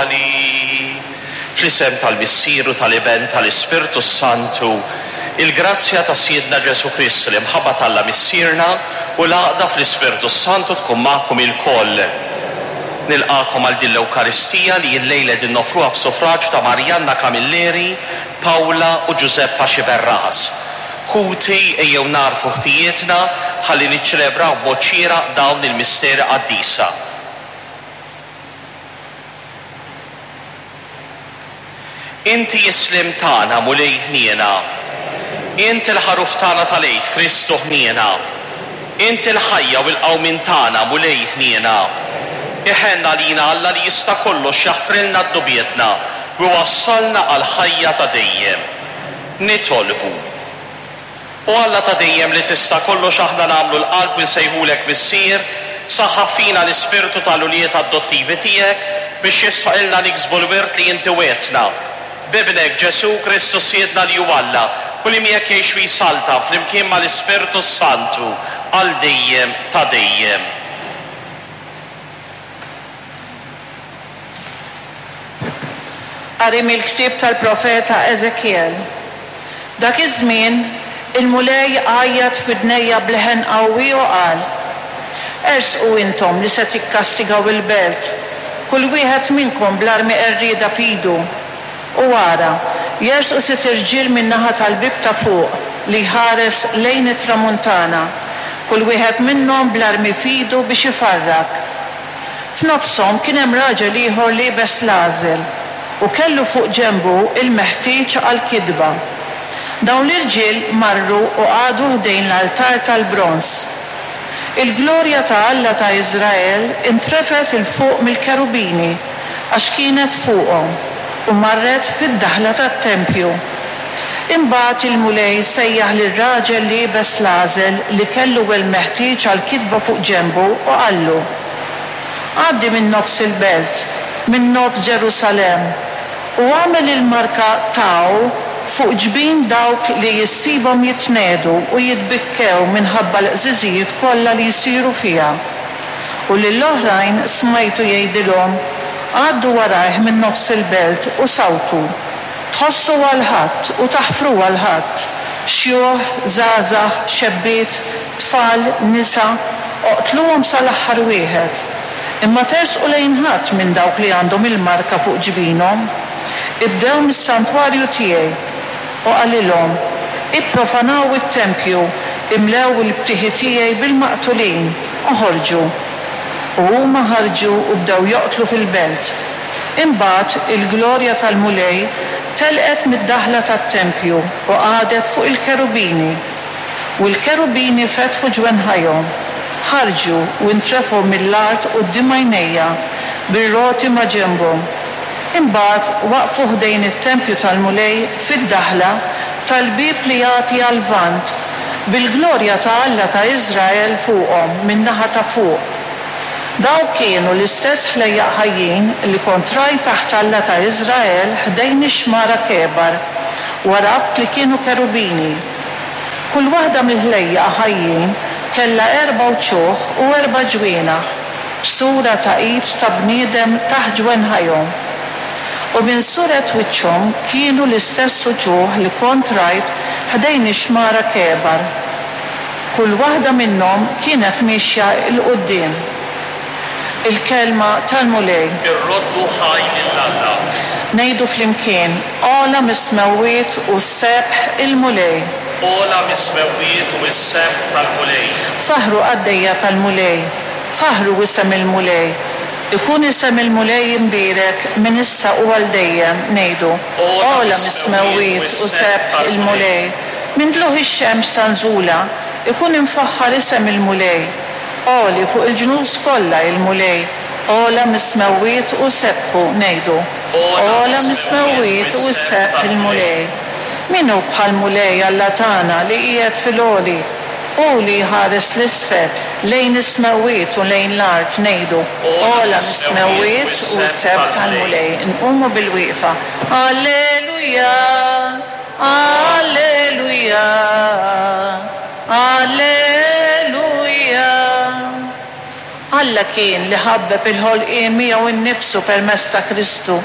Spiritwali. Fl-isem tal-Missier u tal-Iben tal-Ispirtu s-Santu, il-grazzja ta' Sidna Ġesù Kristu, l-imħabba t'Alla Missierna u l-għaqda fl-Ispirtu s-Santu tkun magħkom ilkoll. Nilqagħkom għal din l-Ewkaristija li llejla qegħdin noffruha b'suffraġġ ta' Marianna Camilleri, Paola u Giuseppa Sciberras. Ħuti, ejjew nagħrfu ħtijietna ħalli niċċelebraw b'mod xieraq dawn il-misteri qaddisa. Inti s-sliem tagħna, Mulej ħniena. Int il-Ħaruf tagħna tal-Għid, Kristu ħniena. Int il-ħajja u l-qawmien tagħna, Mulej ħniena. Iħenn għalina Alla li jista' kollox jaħfrilna dnubietna u jwassalna għall-ħajja ta' dejjem. Nitolbu. O Alla ta' dejjem li tista' kollox aħna nagħmlu l-qalb u nsejħulek Missier, saħħaħ fina l-ispirtu ta' l-ulied adottivi tiegħek biex jistħoqilna niksbu l-wirt li inti wegħdtna. B'Ibnek, Ġesù Kristu Sidna li hu Alla u li miegħek jgħix u jsaltan flimkien ma' l-Ispirtu s-Santu għal dejjem ta' dejjem. Qari mill-ktieb tal-profeta Eżekjel. Dak iż-żmien, il-Mulej għajjat f'widnejja b'leħen qawwi u qal, Ersqu intom li se tikkastigaw il-belt, kull wieħed minnkom bl-armi qerrieda f'idu. U ara, jersqu sitt irġiel min-naħa tal-bieb ta' fuq li jħares lejn it-tramuntana, kull wieħed minnhom bl-armi f'idu biex ifarrak. F'nofshom kien hemm raġel ieħor liebes l-għażel, u kellu fuq ġenbu l-meħtieġ għall-kitba. Dawn l-irġiel marru u qagħdu ħdejn l-altar tal-bronż. Il-glorja ta' Alla ta' Iżrael intrefgħet 'il fuq mill-kerubini, għax kienet fuqhom, u marret fid-daħla tat-tempju. Imbagħad il-Mulej sejjaħ lir-raġel liebes l-għażel li kellu l-meħtieġ għall-kitba fuq ġenbu u qallu, Għaddi minn nofs il-belt, minn nofs Ġerusalemm, u agħmel il-marka Tau fuq ġbin dawk li issibhom jitnegħdu u jitbikkew minħabba l-qżiżijiet kollha li jsiru fiha. U lill-oħrajn smajtu jgħidilhom, Għaddu warajh minn nofs il-belt u sawtu. Tħossu għal ħadd u taħfru għal ħadd, xjuħ, żgħażagħ, xebbiet, tfal, nisa, oqtluhom sa l-aħħar wieħed. Imma tersqu lejn ħadd minn dawk li għandhom il-marka fuq ġbinhom. Ibdew mis-santwarju tiegħi. U qalilhom, Ipprofanaw it-tempju, imlew il-btieħi tiegħi bil-maqtulin, oħorġu. U huma ħarġu u bdew joqtlu fil-belt. Imbagħad il-glorja tal-Mulej telqet mid-daħla tat-tempju u qagħdet fuq il-kerubini. U l-kerubini fetħu ġwenħajhom, ħarġu u ntrefgħu mill-art quddiem għajnejja, bir-roti ma' ġenbhom. Imbagħad waqfu ħdejn it-tempju tal-Mulej fid-daħla tal-bieb li jagħti għal-lvant, bil-glorja ta' Alla ta' Iżrael fuqhom min-naħa ta' fuq. Dawk kienu l-istess ħlejjaq ħajjin li kont rajt taħt Alla ta' Iżrael ħdejn ix-xmara Kebar, u għaraft li kienu kerubini. Kull waħda mill-ħlejjaq ħajjin kellha erba' wċuħ u erba' ġwienaħ, b'sura ta' id ta' bniedem taħt ġwenħajhom. U minn suret wiċċhom kienu l-istess uċuħ li kont rajt ħdejn ix-xmara Kebar. Kull waħda minnhom kienet miexja 'l quddiem. Il-Kelma tal-Mulej. Irroddu ħaj lil Alla. Ngħidu flimkien, Ogħla mis-smewwiet hu s-sebħ il-Mulej. Ogħla mis-smewwiet hu s-sebħ tal-Mulej. Faħħru qaddejja tal-Mulej, faħħru isem il-Mulej. Ikun isem il-Mulej imbierek minn issa u għal dejjem, ngħidu, Ogħla mis-smewwiet hu sebħ il-Mulej. Minn tlugħ ix-xemx sa nżulha, ikun imfaħħar isem il-Mulej. Għoli fuq il-ġnus kollha il-Mulej, ogħla mis-smewwiet hu sebħu, ngħidu, Ogħla mis-smewwiet hu s-sebħ il-Mulej. Min hu bħall-Mulej Alla tagħna li qiegħed fil-għoli, hu li jħares 'l isfel lejn is-smewwiet u lejn l-art, ngħidu, Ogħla mis-smewwiet hu s-sebħ tal-Mulej. Nqumu bil-wieqfa. Alleluja! Alleluja! Alleluja! Alla kien li ħabbeb il-ħolqien miegħu nnifsu permezz ta' Kristu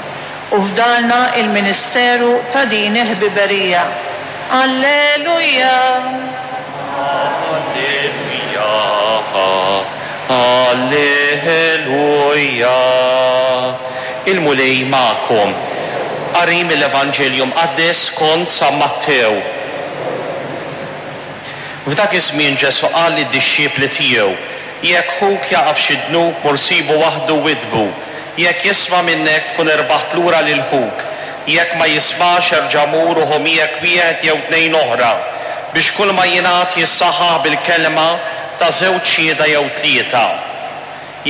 u fdalna l-ministeru ta' din il-ħbiberija. Alleluja! Alleluja, Alleluja. Il-Mulej magħkom. Qari mill-Evanġelju Mqaddes skont San Mattew. F'dak iż-żmien Ġesù qal lid-dixxipli tiegħu, Jekk ħuk jaqa' f'xi dnub, mur sibu waħdu u widdbu. Jekk jisma' minnek, tkun irbaħt lura lil ħuk. Jekk ma jismax, erġa' mur u ħu miegħek wieħed jew tnejn oħra, biex kulma jingħad jissaħħaħ bil-kelma ta' żewġ xhieda jew tlieta.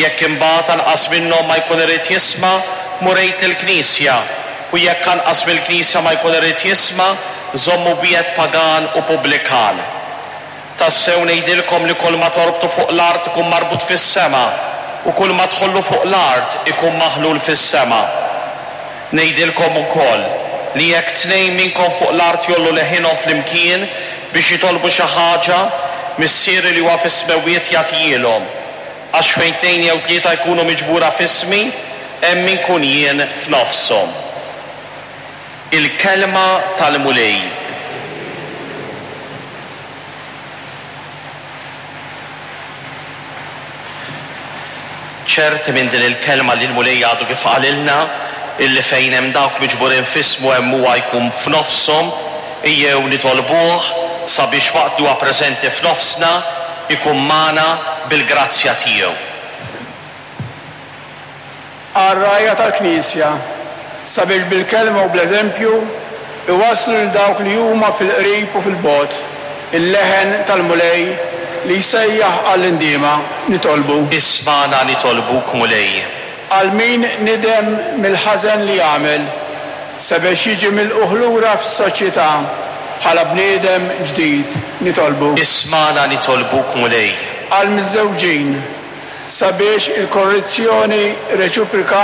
Jekk imbagħad anqas minnhom ma jkun irid jisma', mur għid lill-knisja, u jekk anqas mill-knisja ma jkun irid jisma', żommu b'jedd pagan u pubblikan. Tassew ngħidilkom li kulma torbtu fuq l-art ikun marbut fis-sema, u kulma tħollu fuq l-art ikun maħlul fis-sema. Ngħidilkom ukoll, li jekk tnejn minnkom fuq l-art jgħollu leħinhom flimkien biex jitolbu xi ħaġa, Missieri li huwa fis-smewwiet jagħtihielhom. Għax fejn tnejn jew tlieta jkunu miġbura f'ismi, hemm inkun jien f'nofshom. Il-Kelma tal-Mulej. Ċerti minn din il-kelma li l-Mulej għadu kif qalilna, illi fejn hemm dawk miġburin f'ismu hemm huwa jkun f'nofshom, ejjew nitolbuh sabiex waqt li huwa preżenti f'nofsna, ikun magħna bil-grazzja tiegħu. Għar-rgħajja tal-Knisja, sabiex bil-kelma u bl-eżempju iwasslu lil dawk li huma fil-qrib u fil-bogħod il-leħen tal-Mulej li jsejjaħ għall-indiema, nitolbu. Ismagħna nitolbuk, Mulej. Għal min nidem mill-ħażen li għamel, sabiex jiġi milqugħ lura fis-soċjetà bħala bniedem ġdid, nitolbu. Ismagħna nitolbuk, Mulej. Għall-miżżewġin, sabiex il-korrezzjoni reċiproka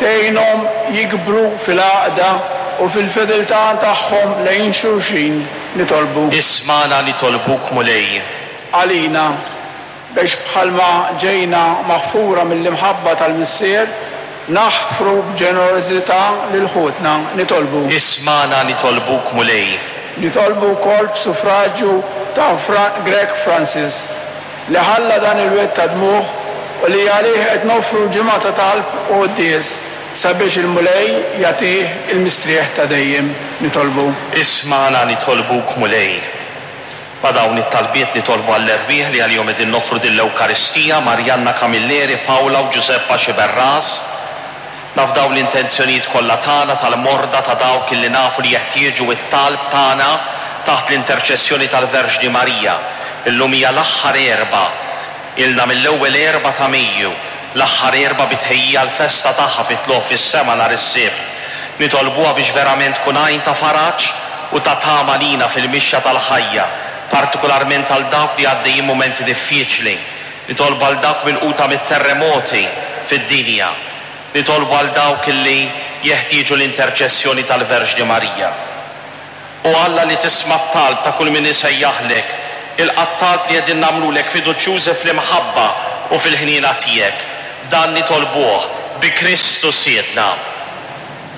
tgħinhom jikbru fil-għaqda u fil-fedeltà tagħhom lejn xulxin, nitolbu. Ismagħna nitolbuk, Mulej. Għalina, biex bħalma ġejna maħfura mill-imħabba tal-Missier, naħfru b'ġenerożità lil ħutna, nitolbu. Ismagħna nitolbuk, Mulej. Nitolbu wkoll b'suffraġju ta' Fra Grech Francis, li ħalla dan il-wied ta' dmugħ u li għalih qed noffru ġimgħa ta' talb u quddies sabiex il-Mulej jagħtih il-mistrieħ ta' dejjem. Nitolbu. Ismagħna nitolbuk Mulej. Ma' dawn it-talbiet nitolbu għall-erwieħ li għalihom qegħdin noffru din l-Ewkaristija, Marianna Camilleri, Paola u Giuseppa Sciberras. Nafdaw l-intenzjonijiet kollha tagħna, tal-morda, ta' dawk illi nafu li jeħtieġu t-talb tagħna taħt l-interċessjoni tal-Verġni Marija. Illum hija l-aħħar Erbgħa. Ilna mill-ewwel Erbgħa ta' Mejju, l-aħħar Erbgħa bi tħejjija għall-festa tagħha fit-Tlugħ fis-Sema nhar is-Sibt. Nitolbuha biex verament tkun għajn ta' faraġ u ta' tama lina fil-mixja tal-ħajja, partikularment għal dawk li għaddejjin mumenti diffiċli. Nitolbu għal dawk milquta mit-terremoti fid-dinja. Nitolbu għal dawk li jeħtieġu l-interċessjoni tal-Verġni Marija. O Alla li tisma' t-talb ta' kull min isejjaħlek, ilqa' t-talb li qegħdin nagħmlulek fiduċjużi fl-imħabba u fil-ħniena tiegħek. Dan nitolbuh bi Kristu Sidna.